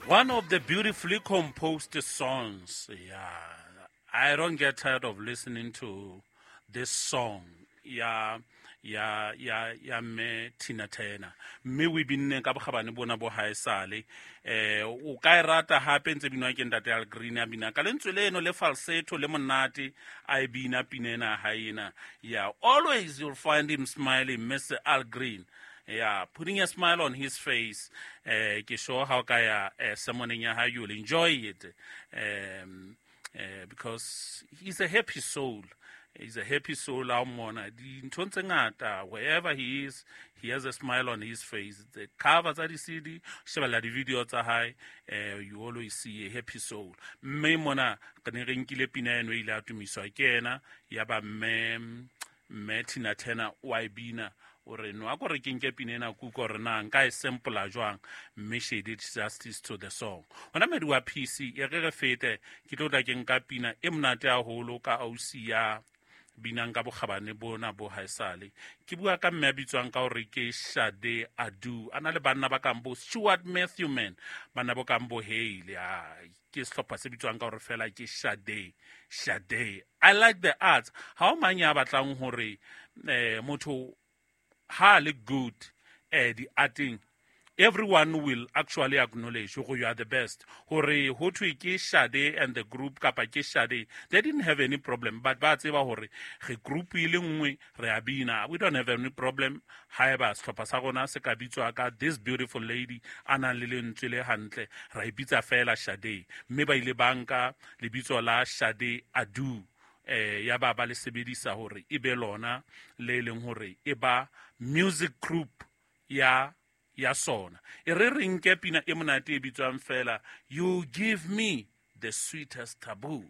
One of the beautifully composed songs. Yeah. I don't get tired of listening to this song. Yeah. Ya ya ya mme Tina Turner, mme o e binne ka bokgabane bona bo haesale. O ka e rata hape ntse binwa ke ntate Al Green, a bina ka lentswe leno le falsetto le monate, a e bina pina ena ha ena. Yeah, always you'll find him smiling, Mr. Al Green. Yeah, putting a smile on his face. Ke sure how ka ya sermoneng ya hae, you'll enjoy it. Because he's a happy soul. He's a happy soul. Ha o mmona dinthong tse ngata, wherever he is, he has a smile on his face. The cover tsa di-CD, shebella di-video tsa hae, you always see a happy soul. Mme mona re ne re nkile pina eno e ile a tumiswa ke ena, ya ba mme Tina Turner o a e bina. O re no a ko re ke nke pina ena kuka hore na nka e sample jwang, mme she did justice to the song. Hona medi wa PC e re re fete, ke tlo tla ke nka pina e monate haholo ka ausi ya binang ka bokgabane bona bo haesale. Ke bua ka mme a bitswang ka hore ke Sade Adu, a na le banna ba kang bo Stuart Matthewman, banna bo kang bo Hale. Ke sehlopha se bitswang ka hore fela ke Sade. Sade, I like the arts. Ha o mang ya batlang hore motho ha le good di-arting, everyone will actually acknowledge hore you are the best. Hore ho thwe ke Sade and the group kapa ke Sade, they didn't have any problem, but ba tseba hore re group e le nngwe, re a bina, we don't have any problem haeba sehlopha sa rona se ka bitswa ka this beautiful lady a nang le lentswe le hantle, ra e bitsa fela Sade. Mme ba ile ba nka lebitso la Sade Adu, ya ba ba le sebedisa hore e be lona le leng hore e ba music group ya sona. E re re nke pina e monate e bitswang fela You Give Me the Sweetest Taboo.